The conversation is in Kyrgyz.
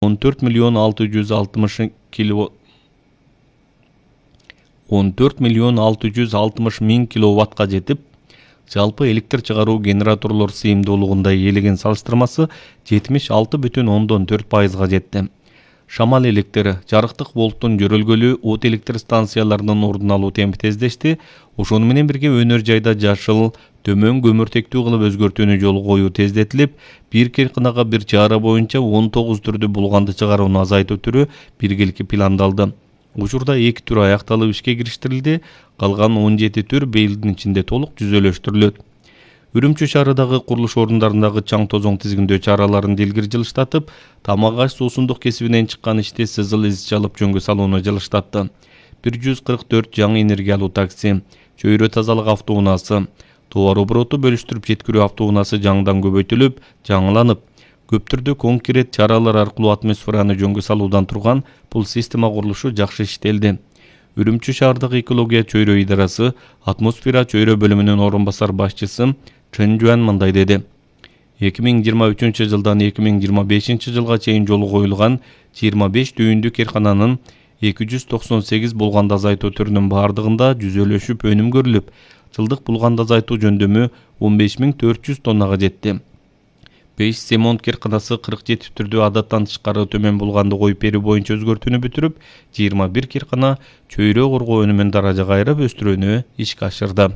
14 миллион 660 миң киловаттка жетип, жалпы электр чыгаруу генераторлор сыйымдуулугунда ээлеген салыштырмасы 76,4%га жетти. Шамал электри, жарыктык волттун жөрөлгөлү от электр станцияларынын ордун алуу темпи тездешти. Ошону менен бирге өнөр жайда жашыл, төмөн көмүртектүү кылып өзгөртүүнү жолго коюу тездетилип, бир кыркынага бир чара боюнча 19 түрдүү булганды чыгарууну азайтуу түрү биргеликке пландалды. Учурда 2 түр аякталып ишке кириштирилди, калган 17 түр быйылдын ичинде толук жүзөлөштүрүлөт. Үрүмчү шаарындагы курулуш орундарындагы чаң тозоң тизгиндөө чараларын дилгир жылыштатып, тамак аш суусундук кесибинен чыккан ишти сызыл из чалып жөнгө салууну жылыштатты. 144 жаңы энергиялуу такси, чөйрө тазалык автоунаасы, товар обороту бөлүштүрүп жеткирүү автоунаасы жаңыдан көбөйтүлүп, жаңыланып, көп түрдүү конкрет чаралар аркылуу атмосфераны жөнгө салуудан турган бул система курулушу жакшы иштелди. Үрүмчү шаардагы экология чөйрө идарасы атмосфера чөйрө бөлүмүнүн орун басар башчысы Чын Жуан мындай деди. 2023 жылдан 2025 жылга чейин жолу коюлган 25 дүйүндүк кээркананын 298 булганды азайтуу түрүнүн бардыгында жүзөлөшүп өнүм көрүлүп, жылдык булганды азайтуу жөндөмү 15.400 тоннага жетти. 5 Семонт кээрканасы 47 түрдүү адаттан тышкары төмөн булганды коюп берүү боюнча өзгөртүүнү бүтүрүп, 21 кээркана чөйрө коргоо өнүмүн даражага айырып өстүрүүнү ишке ашырды.